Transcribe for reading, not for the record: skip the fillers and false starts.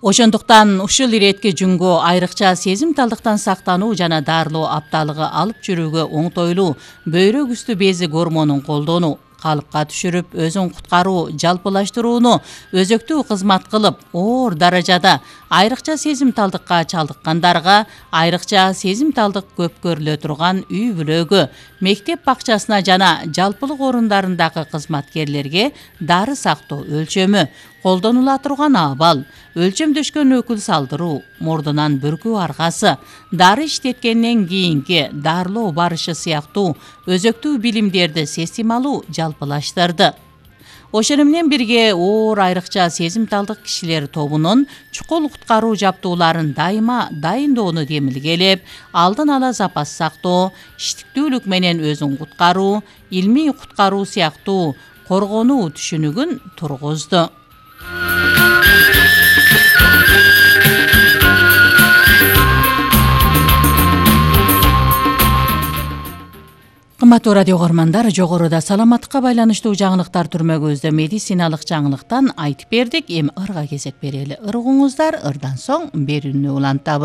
Ошондуктан ушул иретке жүнгө айрыкча сезимталдыктан сактануу жана дарылоо апталыгы алып жүрүүгө оңтойлуу бөйрөк үстү бези гормонун колдонуу, калыпка түшүрүп өзүн куткаруу, жалпылаштырууну өзөктүү кызмат кылып, оор даражада айрыкча сезимталдыкка чалдыккандарга, айрыкча сезимталдык көп көрүлө турган үй бүлөгө, мектеп бакчасына жана жалпылык орундарындагы кызматкерлерге дары сактоо өлчөмү, колдонула турган абал, өлчөмдөшкөн өкүл салдыруу, мурдунан бүркүү аргасы, дары иштеткенден кийинки дарылоо барышы сыяктуу өзөктүү билимдерди системалуу жалпылаштырды. Ошону менен бирге оор айрыкча сезимталдык кишилер тобунун чукул куткаруу жабдууларын дайыма дайындоону демилгелеп, алдын ала запас сактоо, иштиктүүлүк менен өзүн куткаруу, илмий куткаруу сыяктуу коргонуу түшүнүгүн тургузду. Кымбаттуу радио көрөрмандар, жогоруда саламаттыкка байланыштуу жаңылыктар түрмөгүбүздө медициналык жаңылыктан айтып бердик. Эми ырга кезек берели. Ыргуңуздар, ырдан соң берүүнү улантабыз.